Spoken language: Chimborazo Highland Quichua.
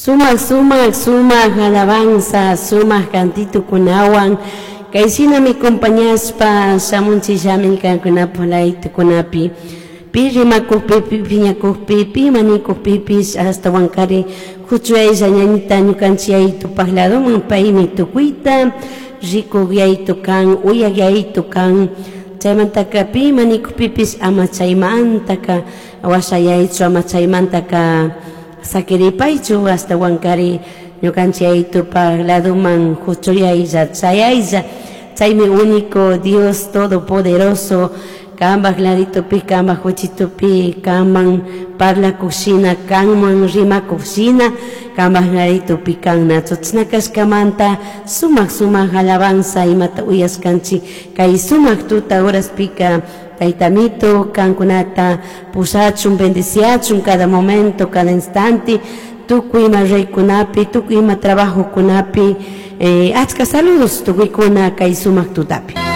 Sumak sumak sumak alabanza, sumak cantitukunawan kayshinami compañashpa shamunchillami kankunapuk laytukunapi pi rimakukpi, pi piñakukpi, pi manikukpipish ashtawankari huchuyaylla ñañita ñukanchik yayitupak ladoman paymi tukuyta rikuk yayitu kan, uyak yayitu kan, chaymantaka pi manikukpipish ama chaymantaka washayaychu, ama chaymantaka sakiripaychu, ashtawankari ñukanchik yayitupak ladoman huchuyaylla chayaylla, chaymi único Dios todopoderoso kanpak laditupi, kanpak huchitupi, kanman parlakukshina, kanman rimakukshina, kanpak laditupi kan nachu chashna kashkamanta sumak sumak alabanza imata uyashkanchik kay sumak tuta horaspika Tayta Amito kankunata pushachun, bendiciachun cada momento, cada instante, tukuy ima reykunapi, tukuy ima trabajokunapi, achka saludos tukuykuna kay sumak tutapi.